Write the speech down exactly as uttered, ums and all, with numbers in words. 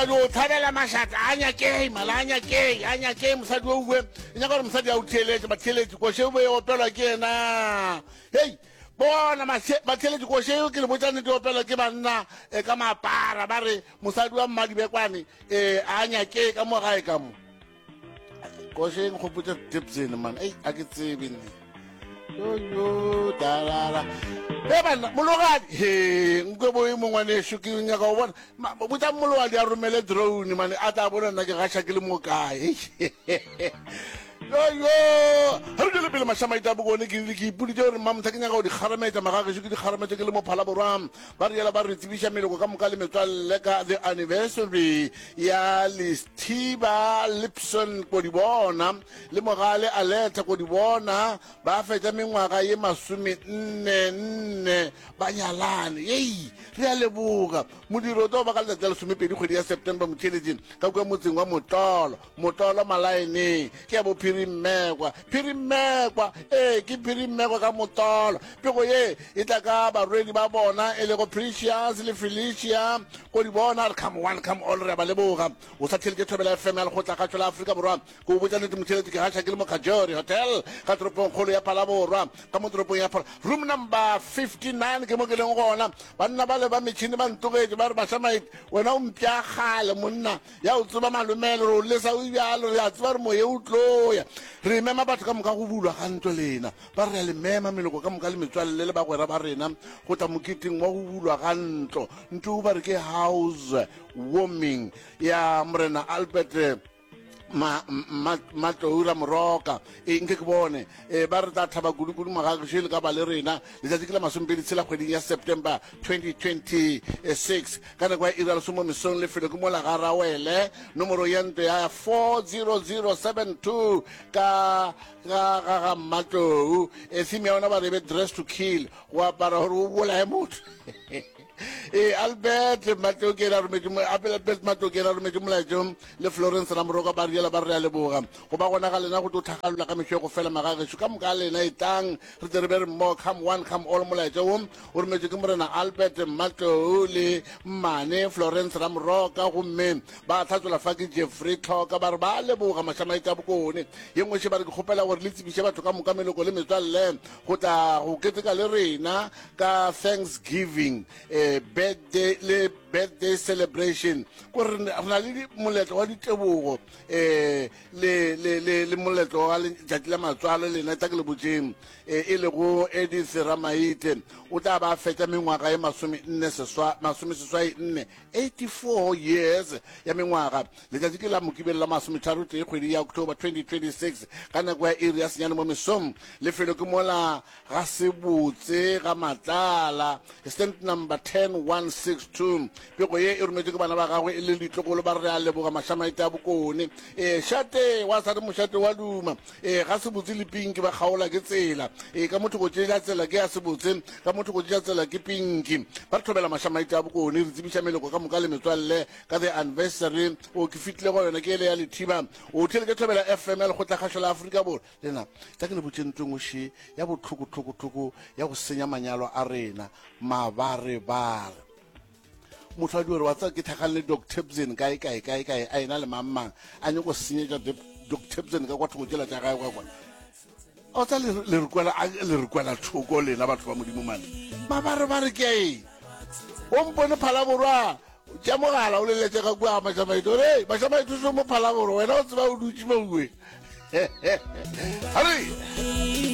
A dio thabela mašata a nyakei mala a nyakei a nyakei mosadi o uwe e nyaka gore mosadi a o theeletše batheeletši koše o be e opelwa ke yena hei bona batheeletši koše eo ke le botša nnete e opelwa ke banna e ka mapara ba re mosadi wa mmadibekwane um a nyakei ka mo gae ka mo koše e nkgopotša dipsene man ei a ke tsebe nne yoyo dalala e banna mologadi he nkwe boe mongwaneso ke nyaka go bona botsa mologadi a romele drone mane a tla bona nna ke gaša ke le mo kae yoyo ga re tšwele pele mašamaita a bokone ke rile ke ipoditše gore mmamotha ke nyaka go di kgarametša magagešo ke di kgarametša ke le mo phalaborwa ba re yela ba re tsebiša meloko ka moka le metswalle ka the anniversary ya Lesthiba Lipson Kodibona le Mogale Aletta Kodibona ba fetša mengwaga ye masome nne nne ba nyalane. Yei, re a leboga. Modiro o tlo ba ka letšatši la lesomepedi kgwedi ya September motheeletšing ka kua motseng wa Motolo, Motolo Malaeneng. Ke ya bo Phirimmekwa. Phirimmekwa, ee, ke Phirimmekwa ka Motolo. Pego ye e tla ka barwedi ba bona e lego Precious le Felicia Kodibona. Re come one, come all, re a ba leboga. O sa theeletše Thobela F M ya Lekgotlakgašo la Afrika Borwa. Ke o botša nnete motheeletši, ke gaša ke le mo Kajori Hotel ka toropongkgolo ya Phalaborwa, ka mo toropong ya Phala, room number fifty nine ke mo ke leng gona. Banna bale ba metšhini ba ntogetše ba re, Mašamaite, wena o mpša kgale monna, ya o tseba malomele, re o lesa o bjalo, re a tseba re moye o tlo ya. Re mema batho ka moka go bulwa ga ntlo lena. Ba re re a le mema, meloko ka moka le metswalle le bagwera ba rena, go tla moketeng wa go bulwa ga ntlo. Ntlo ba re ke house warming ya Morena Albert ma, ma, Matlou Ramoroka. E, nke ke bone. E, ba re tla thaba kudu-kudu magagešu le ka ba le rena. Letšatši ke la masomepedi tshela kgweding ya September twenty twenty-six ka nako ya iri ya lesomo mesong. Lefelo ke mola ga Rawele, nomoro ya ntlo ya four zero zero seven two ka ga ga ga Mmatlou. E, theme ya ona ba re e be dress to kill, go apara gore o bolaye motho. Ee, Albert Matlou ke ena a rometše mo- Albert Matlou ke ena a rometše molaetšo le Florence Ramoroka ba riela ba re a leboga go ba gona ga lena go tlo tlhagalola ka mešo go fela magagešo ka moka a lena etlang re tle re be re mmogo come one come all. Molaetša wo o rometšwe ke Morena Albert Matlou le mmane Florence Ramoroka gomme ba tlhatsola fa ke Jeffrey Tlhoka ba re ba leboga Mašamaite a Bokone. Ye nngwe še ba re ke kgopela gore le tsebiše batho ka moka meloko le metswalle go tla go keteka le rena ka Thanksgiving eh, birthday le birthday celebration ko re na le moletlo wa ditebogo eh, le, le, le, le moletlo wa letšatši la matswalo lena tla ke le botšeng eh, e lego Edith Ramaite o tla ba fetša mengwaga ye masome nne seswa masome seswai nne eighty-four years ya mengwaga. Letšatši ke la Mokibelo la masometharo tee kgwedi ya October twenty twenty-six ka nako ya iri ya senyane mo mesong. Lefelo ke mola ga Sebotse ga Matlala, stand number ten one six two. Pego ye e rometšwe ke bana ba gagwe e le ditlogolo ba re re a leboga Mašamaite a Bokone. E, šate wa sa re mošate wa duma. E, ga Sebotse le Pinki ba kgaola ke tsela. E, ka motho go tšeša tsela ke ya Sebotse, ka motho go tšeša tsela ke Pinki. Ba re thobela Mašamaite a Bokone, re tsebiša meloko ka moka le metswalle ka the anniversary. O ke fetile go yona ke ele ya Lethiba. O theeletše Thobela F M ya Lekgotlakgašo la Afrika Borwa. Lena, tla ke le botše ntlo engwe še ya bohloko-hloko-hloko ya go senya manyalo a rena, mabarebare. Motho a dio re wa tseba ke tlhakane le Doc Tebsen kae kae kae kae a ena le mang mang a nyako senyetša Doc Tebsen ka kwa thoko tšela tša gae kwa kwa. O tsa le le re kwela le re kwela thoko lena batho ba Modimo mane. Mabarebare ke a eng? O mpone Phalaborwa tša mogala o leletše ka kua ga Mašamaite o re, Mašamaite o šo mo Phalaborwa wena o tseba o dutše mo uwe. Hare!